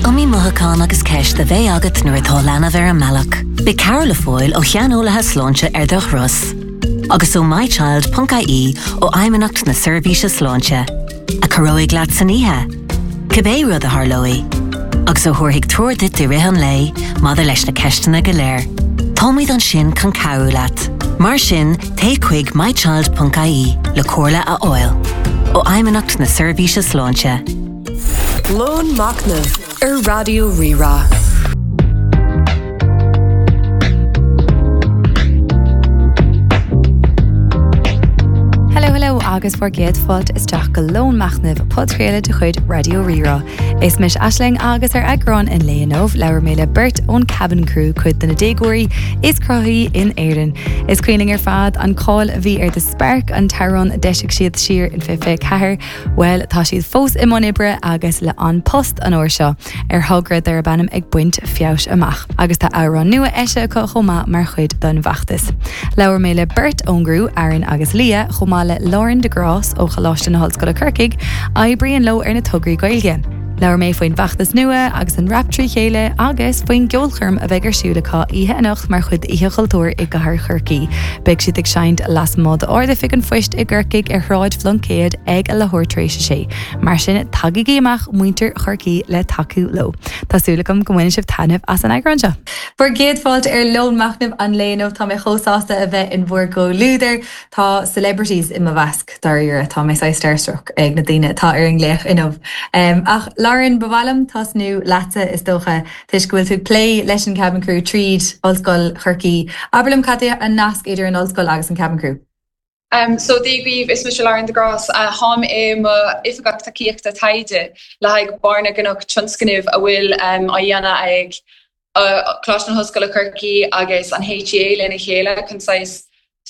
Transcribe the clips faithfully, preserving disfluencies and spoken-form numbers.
iomaí mothúchán agus ceist a bheidh agat nuair atá leanbh ar an mbealach. Beidh cabhair le fáil ó shaineolaithe sláinte ar do thuras. Agus ó mychild.ie ó Fheidhmeannacht na Seirbhíse Sláinte, a chabhróidh leat san oíche. Cibé rud a tharlóidh, agus a thabharfaidh treoir duit i rith an lae maidir leis na ceisteanna go léir. Táimid ansin chun cabhrú leat. Mar sin téigh chuig mychild.ie le comhairle a fháil. Ó Fheidhmeannacht na Seirbhíse Sláinte. Lón Machnaimh ar Raidió Rí-Rá. Hello hello agus bhur gcéad fáilte isteach go Lón Machnaimh podchraoladh de chuid Raidió Rí-Rá. Is mise Aisling agus ar eagrán an lae inniu labhair mé le beirt ón Kabin Crew cuid de na déagóirí is cruthaithí in Éirinn. Is cuimhin linn ar fad an cáil a bhí ar The Spark an t-amhrán a d'eisigh siad siar in fiche fiche ceathair, Bhuel tá siad fós i mbun oibre agus le An Post an uair seo ar thogra darb ainm ag baint feabhais amach. Agus tá amhrán nua eisithe acu chomh maith mar chuid den bhfeachtas. Labhair mé le beirt ón gcriú Aaron agus Leah chomh maith le Lauren de Grás ó Choláiste na hOllscoile Corcaigh, oibríonn leo ar na tograí Gaeilge. Labhair mé faoin bhfeachtas nua agus an rap trí chéile agus faoin gceolchoirm a bheidh ar siúl acu oíche anocht mar chuid d'Oíche Chultúir i gCathair Chorcaí. Beidh siad ag seinnt lasmuigh d'Ard-Oifig an Phoist i gCorcaigh ar Shráid Phluincéid ag a leathuair tar éis a sé. Mar sin tagaigí amach muintir Chorcaí le tacú leo. Tá súil agam go mbainfidh sibh taitneamh as an eagrán seo. Bhur gcéad fáilte ar Lón Machnaimh an lae inniu tá mé chomh sásta a bheith in bhur gcomhluadar. Tá celebrities i mo mheasc. Dáiríre, tá mé saghas starstruck ag na daoine atá ar an nglaoch inniu. Ach Lauren, ba mhaith liom tosnú leatsa is dócha, toisc go bhfuil tú ag plé leis an Cabin Crew tríd Ollscoil Chorcaí. Abair liom cad é an nasc idir an ollscoil agus an Cabin Crew? Um, so Dia daoibh, is mise Lauren de Grás, uh, táim i mo oifigeach tacaíochta taighde le haghaidh Barr na gCnoc tionscnamh a bhfuil um, á dhéanamh ag uh, Coláiste na hOllscoile Corcaí agus an HEA lena chéile chun saghas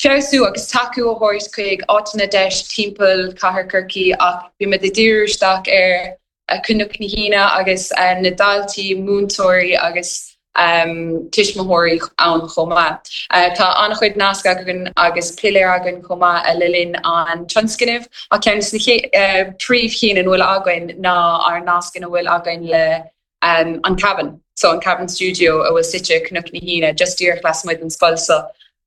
feabhsú agus tacú a thabhairt chuig áiteanna deis timpeall Cathair Chorcaí ach bímid ag díriú isteach ar Cnoc na hAoine agus na daltaí, múinteoirí agus tuismitheoirí ann chomh maith. Tá an-chuid nasc againn agus piléar againn chomh maith le linn an tionscnaimh ach ceann de na príomhchinn ina bhfuil againn ná ár nasc ina bhfuil againn le an Cabin, so an Cabin Studio a bhfuil suite Cnoc na hAoine just díreach lasmuigh den scoil so.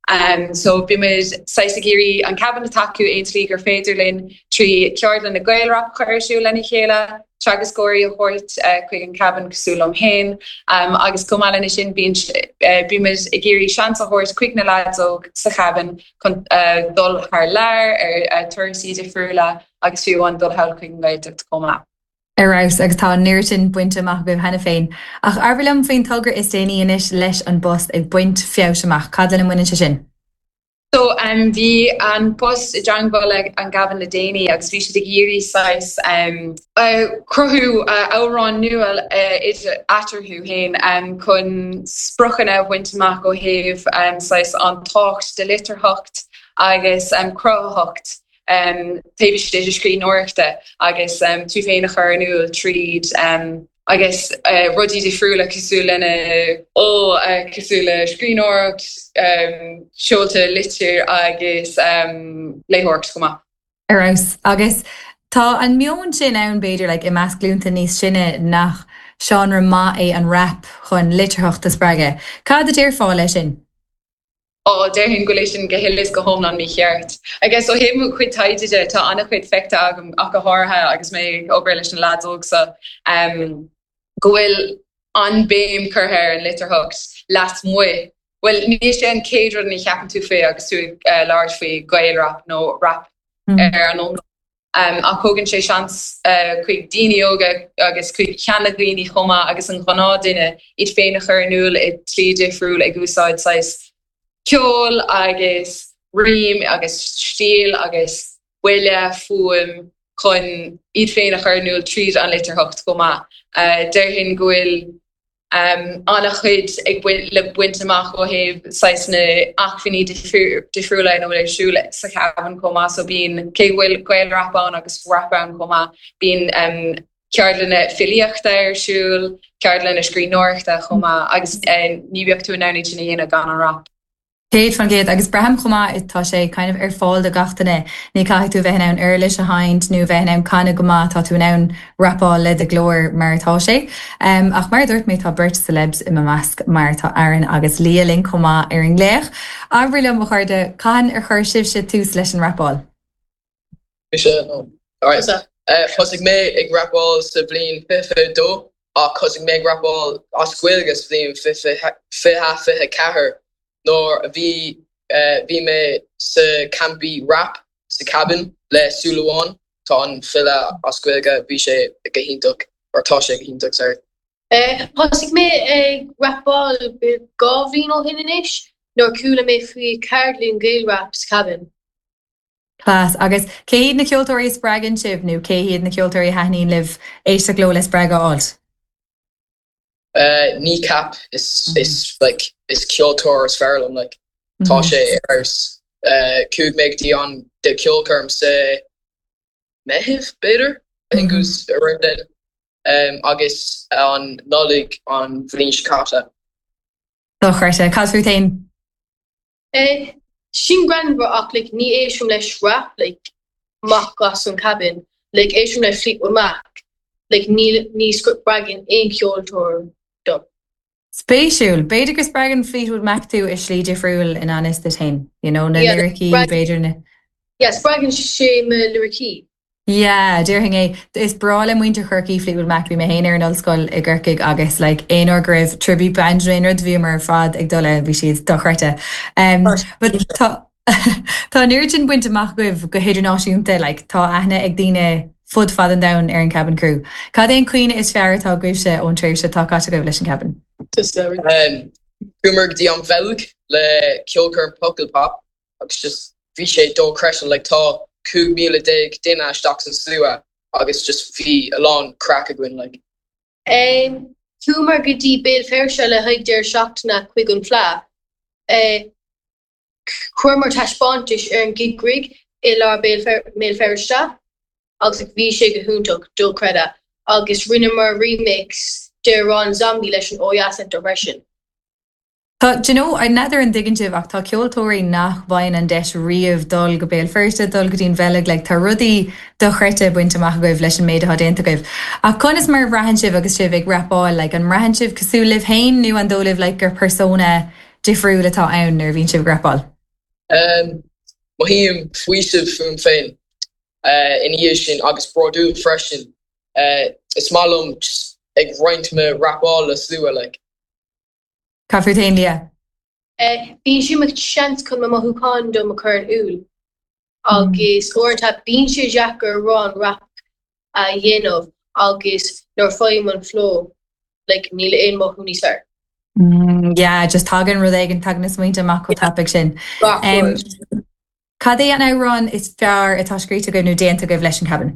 Um, so bímid saghas ag iarraidh an Cabin a tacú aon tslí gur féidir linn trí ceardlanna Gaelrap a chur ar siúl lena chéile, teagascóirí a thabhairt uh, chuig an Cabin cosúil liom féin, um, agus chomh maith lena sin bíonn uh, bímid ag iarraidh seans a thabhairt chuig na lads óg sa Cabin chun uh, dul thar lear ar uh, turasaí difriúla agus fiú amháin dul thall chuig an Ghaeltacht chomh maith. Ar fheabhas agus tá an oiread sin bainte amach agaibh cheana féin. Ach abair liom faoin togra is déanaí anois leis An Post ag baint feabhais amach. Cad lena mbaineann sé sin? So um, bhí An Post i dteagmháil le an gCabin le déanaí agus bhí siad ag iarraidh saghas um, uh, cruthú uh, amhrán nua uh, idir eatarthu féin um, chun spriocanna a bhaint amach ó thaobh um, saghas an tábhacht de litearthacht agus um, cruthaitheacht um, taobh istigh de scríbhneoireachta agus um, tú féin a chur in iúl tríd um, agus uh, rudaí difriúla cosúil lena ó uh, cosúil le scríbhneoireacht um, seolta litir agus um, léitheoireacht chomh maith. Ar fheabhas agus tá an meon sin ann b'fhéidir like, i measc glúnta níos sine nach seánra maith é an rap chun litearthacht a spreagadh. Cad a déarfá leis sin? Ó déarfainn go bhfuil sin go huile is go hiomlán mícheart. Agus ó thaobh mo chuid taighde de tá an-chuid feicthe agam ach go háirithe agus mé ag obair leis na lads óg so um, go bhfuil an béim curtha ar an litearthacht lasmuigh. Well ní sé an chéad rud a cheapann tú faoi agus tú ag uh, labhairt faoi Gaelrap nó rap mm. ar an iomlán. Um, ach thugann sé seans uh, chuig daoine óga agus chuig seandaoine chomh maith agus an ghnáthdhuine iad féin a chur in iúl i slí difriúil ag úsáid saghas ceol agus rím agus stíl agus buille fuaim chun iad féin a chur in iúl tríd an litearthacht chomh maith. Uh, Déarfainn go bhfuil um, an-chuid ag le baint amach ó thaobh saghas na acmhainní difriúla ina bhfuil ar siúl sa Chabin chomh maith so bíonn cé bhfuil Gaelrap ann agus rap ann chomh maith bíonn um, ceardlanna filíochta ar siúl, ceardlanna scríbhneoireachta chomh maith agus uh, ní bheadh tú in ann sin a dhéanamh gan an rap. Céad faoin gcéad agus braithim chomh maith tá sé kind of ar fáil do gach duine. Ní caithfidh tú bheith in ann uirlis a sheinnt nó bheith in ann canadh go maith tá tú in ann rapáil le do ghlór mar atá sé. Um, ach mar dúirt mé tá beirt celebs i mo measc mar tá Aaron agus Leah linn chomh maith ar an nglaoch. Abair liom a chairde cathain ar chuir sibhse tús leis an rapáil. Mise no. Alright. Uh, Thosaigh mé ag rapáil sa bhliain fiche dó ach thosaigh mé ag rapáil as Gaeilge sa bhliain fiche fiche ceathair nuair a bhí uh, bhí mé sa campy rap sa cabin le Súlamháin tá an file as Gaeilge bhí sé go hiontach or tá sé go hiontach sorry. Eh, Thosaigh mé ag rapáil dhá bhliain ó shin anois nuair chuala mé faoi ceardlann Gael rap sa cabin. Class agus cé hiad na ceoltóirí a spreagann sibh nó cé hiad na ceoltóirí a thaitníonn libh éisteacht leo le spreagadh a fháil? Uh, Kneecap is is like is ceoltóir is fearr liom like tá sé ar uh, chuaigh mé dtí an de ceolchoirm sa Meitheamh b'fhéidir I think it was around then um, agus an Nollaig an bhliain seo caite. Dochreidte cad fút féin? Eh, sin greannmhar ach like, ní éistim leis rap like, amach as an cabin, like, éistim le Fleetwood Mac, like, ní ní spreagann aon ceoltóir dom. Spéisiúil, B'fhéidir go spreagann Fleetwood Mac tú i slí difriúil in anis de tain, you know, na Yeah, liricí spreag- b'fhéidir na. Yeah, spreagann sé mo liricí. Yeah, déarfainn é is breá le muintir Chorcaí Fleetwood Mac bhí mé féin ar an ollscoil i gCorcaigh agus like, aon uair go raibh tribute band nó aon rud bhíomar ar fad ag dul bhí siad dochreidte. Um, but tá Tá an oiread sin bainte amach agaibh go hidirnáisiúnta like, tá aithne ag daoine fud fad an domhain ar an Cabin Crew. Cad é an cuimhne is fearr atá agaibhse ón tréimhse atá caite agaibh leis an cabin? Um, Chuamar go dtí an Bheilg le ceolchoirm Pukkelpop agus just bhí sé dochreidte like tá cúig míle déag duine isteach san slua agus just bhí a lán craic againn like. Um, Chuamar go dtí Béal Feirste le haghaidh deireadh seachtaine chuig an Fleadh. Eh, Chuireamar taispeántas ar an gig rig i lár Béal Feirste agus bhí sé go hiontach dochreidte agus rinneamar remix de an Zombie leis an Ó Yeah Centre freisin. Tá you know, n'fheadar an dtuigeann sibh ach tá ceoltóirí nach bhfaigheann an deis riamh dul go Béal Feirste dul go dtí an Bheilg le tá rudaí dochreidte bainte amach agaibh leis an méid atá déanta agaibh. Ach conas mar a bhraitheann sibh agus sibh ag rapáil like, an mbraitheann sibh cosúil libh féin nó an dóigh libh like, gur persona difriúil atá ann nuair a bhíonn sibh ag rapáil. Um, Mothaím faoiseamh fúm féin uh, ina dhiaidh sin agus bródúil freisin. Uh, is maith liom just ag roinnt mo rapáil le slua like. Cad fút féin Leah. Eh, Bíonn sé mo seans chun mo mothúcháin dom a chur in iúl agus uaireanta bíonn sé deacair amhrán rap a dhéanamh agus nuair faighim an flow like, níl aon mothú níos fearr. Mm, yeah, just tagann rud éigin tagann na smaointe amach chomh tapaidh sin. Gach Um, rud. Cad é an amhrán is fearr atá scríte agaibh nó déanta agaibh leis an cabin?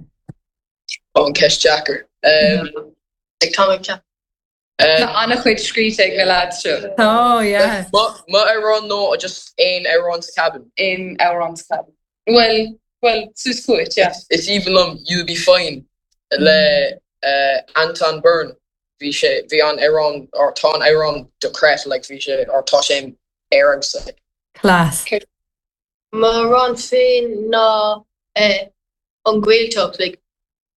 Ó an ceist deacair. Um, Like, tá mé ceap. Tá um, an-chuid scríte ag na lads seo Oh yeah. Mo amhrán nó just aon amhrán sa cabin. in amhrán sa cabin. Well, well, sus chuit, yeah. Is aoibhinn liom You'll Be Fine le uh, Anton Byrne. Bhí sé bhí an amhrán or tá an amhrán dochreidte like bhí sé or tá sé ar like. Class. M'amhrán féin ná eh, an Ghaeltacht like,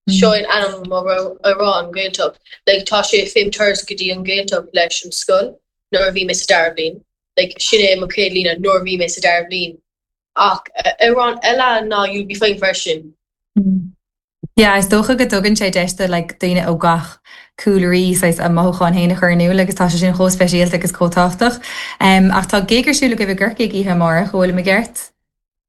seo an ainm amhrán Gaeltacht like, tá sé fém turas go dtí an Ghaeltacht leis an scoil nuair a bhí mé sa dara bliain like, sin é mo chéad líne nuair a bhí mé sa dara bliain ach eh, amhrán eile ná You'll Be Fine freisin. Yeah, is dócha go dtugann sé deis do like, daoine ó gach cúlraí saghas a mothúcháin féin a chur in iúl agus tá sé sin chomh speisialta agus chomh tábhachtach. Um, ach tá gig ar siúl agaibh i gCorcaigh oíche amárach bhfuil mé ceart?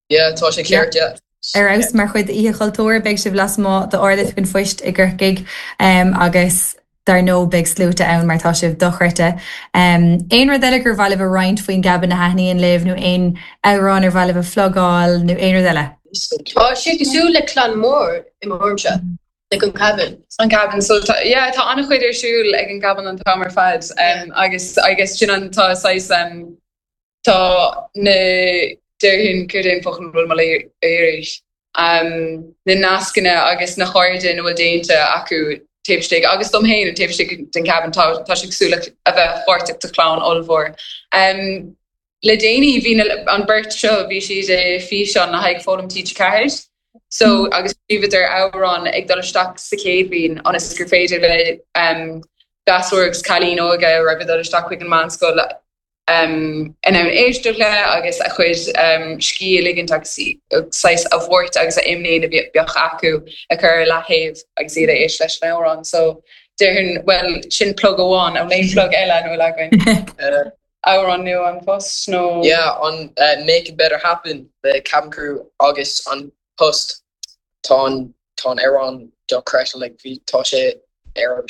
Yeah, tá sé ceart, yeah. Ar fheabhas mar chuid Oíche Chultúir beidh sibh lasmuigh d'Ard-Oifig an Phoist i gCorcaigh um, agus dar ndóigh beidh sluaite ann mar tá sibh dochreidte. Um, aon rud eile gur mhaith libh a roinnt faoin gcabin a thaitníonn libh nó aon amhrán ar mhaith libh a phlugáil nó aon rud eile. Tá sé cosúil le clann mór i m'thuairimse like an cabin. An cabin so tá yeah, tá an-chuid ar siúl ag an gcabin an t-am ar fad um, agus agus sin an tá saghas um, tá na déarfainn céard é an focal bhfuil mé éirí um, na nascanna agus na cairde na bhfuil déanta acu taobh istigh agus dom féin taobh istigh den cabin tá tá sé cosúil le a bheith páirteach de chlann ollmhór. Um, Le déanaí bhí an beirt seo bhí siad i físeán le haghaidh Foghlaim TG Ceathair. So agus scríobhadar amhrán ag dul isteach sa chéad bhliain ionas gur féidir le um, gasúir agus cailíní óga a raibh ag dul isteach chuig an meánscoil um, in ann éisteacht le agus a chuid um, scíth a ligint agus saghas a bhuairt agus a imní a bheadh acu a chur ar leataobh agus iad ag éisteacht leis an amhrán. So déarfainn well sin plug amháin an aon plug eile nó againn. Amhrán nua An Post nó? Yeah, an uh, Make It Better Happen le Cabin Crew agus An Post tá an tá an amhrán dochreidte like bhí tá sé ar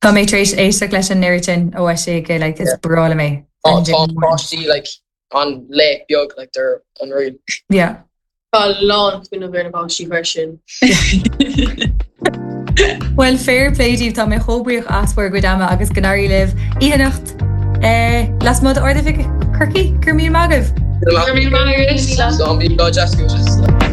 Tá mé tar éis éisteacht leis an oiread sin ó sé go like is breá liom é. Tá tá páistí like an le beag like they're unreal. Yeah. Tá lán fuinneamh ar na páistí freisin. Well fair play daoibh tá mé chomh buíoch as bhur gcuid ama agus go n-éirí libh oíche anocht eh, lasmuigh d'Ard-Oifig Chorcaí Go raibh míle maith agaibh. Go raibh míle maith agat. Zombie God Jessica.